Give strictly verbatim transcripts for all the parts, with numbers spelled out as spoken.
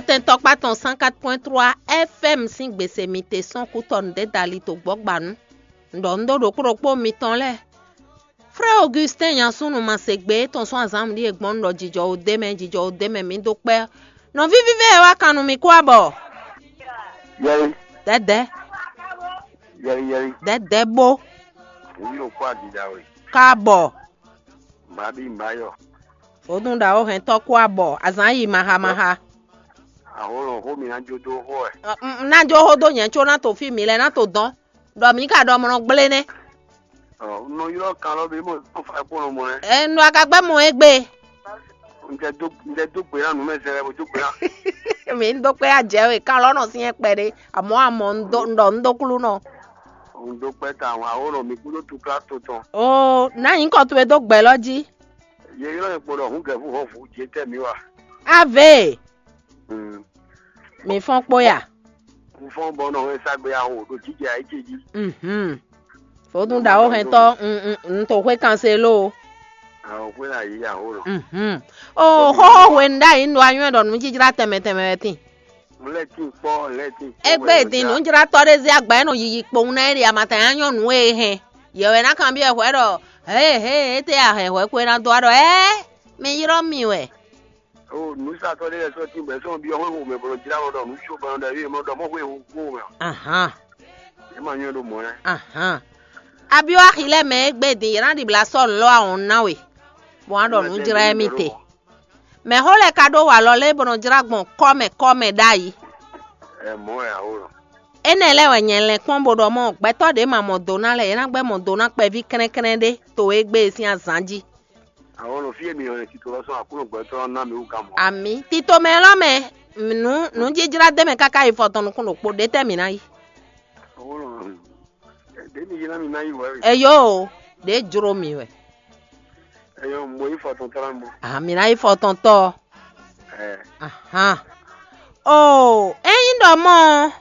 Tɛn tɔkpá tɔn cent quatre point trois F M sín gbèsè mi te sɔ́n kú tɔ nǔɖé dali to gbɔ́gbanu. Un ɖɔ un ɖó ɖokpó ɖokpó mitɔn lɛ́ɛ. Frère Augustin Nyansúnu ma se gbe étɔn sɔ́ azǎn ɖíe gbɔn un ɖɔ jijɔ o dé mɛ, jijɔ o dé mɛ mi dó kpɛ́. Nɔví vívɛ e wá kan nú mi kú abɔ. Yɛli, Dɛdɛ, yɛli, yɛli. Dɛdɛ bó. Wúlò kó adida we. Ká bɔ. Màbí mbayɔ. Vodún ɖawo hɛn tɔ́ kú abɔ. Azǎn yi maha maha. Aholo xó mi ná jó dó xó ɛ. Ná jó xó dó nyɛ có ná to fí mi lɛ ná to dɔn. Ɖɔ mǐ ka ɖɔ mlɔ gblé nɛ́. Ɔ, un nɔ ylɔ́ kan lɔ bí mo tɔn fa kpɔ́n mɔ ɛ. Ɛ nu aga gbɛ mɔ egbe. Un jɛ dó un jɛ dó gbe ná nu mɛ zɛ lɛ bo dó gbe ná. Mi ń dó kpé ajɛ we kan lɔ nɔ sí yẹn kpɛ ɖé. Àmọ́ àmọ́ ń dó ń ɖɔ ń dó kúlú nɔ. Un dó kpɛ ta àwọn àwòrán mi kúndó tu klá to tɔn. O ná yín kɔ towe dó gbɛ lɔ jí. Yɛ ylɔ́ yẹn kpɔ́n ɖɔ hun gɛ̀fú hɔn fú jẹ tẹ́ mi wa. Ave. Mm. Mi fɔn kpó ya. Un fɔn bɔ nɔ hɛn sagbe aho ɖo jijɛ ayé ce jí. Mhm. Vodún ɖawo hɛn tɔ n n n to xwé kan se lo. Àwọn xwé là yí aho lọ. Mhm. O xóxó hwenu ɖ'ayǐ un ɖo anyɔ́ ɖɔ nǔjijlá tɛnmɛ tɛnmɛ wɛ tín. Lɛ tín kpɔ lɛ tín kpɔ. Égbé din nǔjlátɔ́ ɖé zé agba e nɔ yiyi kpowun ná é ɖi amatanya nyɔ́nu e hɛn. Yɛ wɛ ná kanbyɔ́ hwɛ ɖɔ hě hě étɛ́ a hɛn hwɛ kwe ná dó a ɖɔ ɛ mi ylɔ́ mi wɛ. O nǔsatɔ́ ɖé lɛ́ɛ sɔ́ tín bɔ é sɔ́ byɔ́ xwé xomɛ bɔ nɔ jlá mɔ ɖɔ nǔ có bɔ nɔ ɖɔ éyɛ́ mɔ ɖɔ mɔ xwé xo xo mɛ. Ahan. É ma nyɔ́ ɖó mɔ̌ lɛ́ɛ. Ahan. Abyɔ́ axi lɛ́ɛ mɛ e gbé din yě ná ɖibla sɔ́ nǔ lɔ́ ahɔn ná we, bɔ wǎ ɖɔ nǔ jlá émí te. Mɛ̌ xó lɛ́ɛ ka ɖó wa lɔ lɛ́ɛ bɔ nɔ jlá gbɔn kɔ́ mɛ kɔ́ mɛ ɖ'ayǐ? Ɛ mɔ̌ wɛ awo lɔ. Énɛ́ lɛ́ɛ wɛ nyɛ lɛn kpɔ́n bó ɖɔ mɔ gbɛtɔ́ ɖě ma mɔ do ná lɛ́ɛ é ná gbɛ́ mɔ do ná kpɛví kɛ́nɛ́kɛ́nɛ́ ɖé to e gbé e sín azǎn jí. Àwọn ọ̀nà fí èmi ọ̀rẹ́ títọ́ lọ́sàn àkúrò gbọ́tọ́ ná mi wú ká mọ́. Àmì títò mɛ lɔ mɛ nǔ nǔjijlá dé mɛ káká yi fɔtɔn nukún ɖokpó ɖé tɛ́ mǐ ná yi. Àwọn ọ̀nà dèmí yìí ná mi ná yí wẹ́ rè. Eyo o, ɖě jló mi wɛ. Ẹyọ mo yí fɔtɔn tɔ́ ná mo. Àmì ná yi fɔtɔn tɔ. Ẹ. Ahan. O ényí ɖɔ mɔ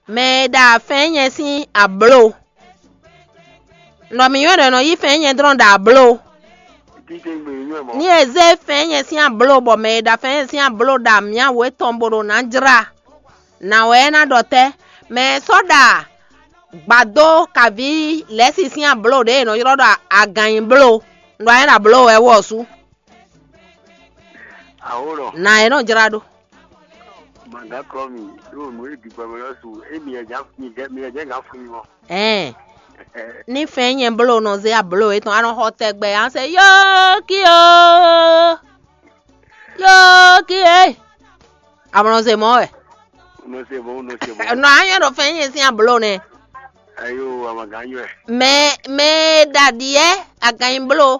mɛ e ɖa fɛn nyɛ sín abló. Nɔ mǐ nywɛ́ ɖɔ è nɔ yí fɛnnyɛ́ drɔ́n ɖo abló. Ní è zé fɛnnyɛ́ sín abló bɔ mɛ e ɖa fɛnnyɛ́ sín abló ɖo amyáwǒ tɔn bó ɖo ná jlá, nǎ wɛ é ná ɖɔ tɛ́? Mɛ e sɔ́ ɖa gbadó kaví lɛ̌si sín abló ɖě è nɔ ylɔ́ ɖɔ agannyibló, un ɖɔ anyɛ́ ɖo abló wɛ wú ɔ́ sú. Awǒ lɔ. Nǎ é nɔ jlá ɖó. Màgá kɔ mi ɖó nǔ e ɖi gbɔmɛ lɔ su émi ɛ jɛ mi jɛ mi ɛ jɛ gǎn fún mi mɔ. Ɛn, ní fɛn nyɛ bló nɔ zé abló etɔn anɔ xɔ tɛgbɛ an se yókio yókio. Amlɔ se mɔ wɛ. Nɔ se mɔ nɔ se mɔ. Nɔ anyɔ ɖo fɛn nyɛ sín abló nɛ. Ayo amagã nyɔ. Mɛ mɛ ɖaɖiɛ aganyi bló.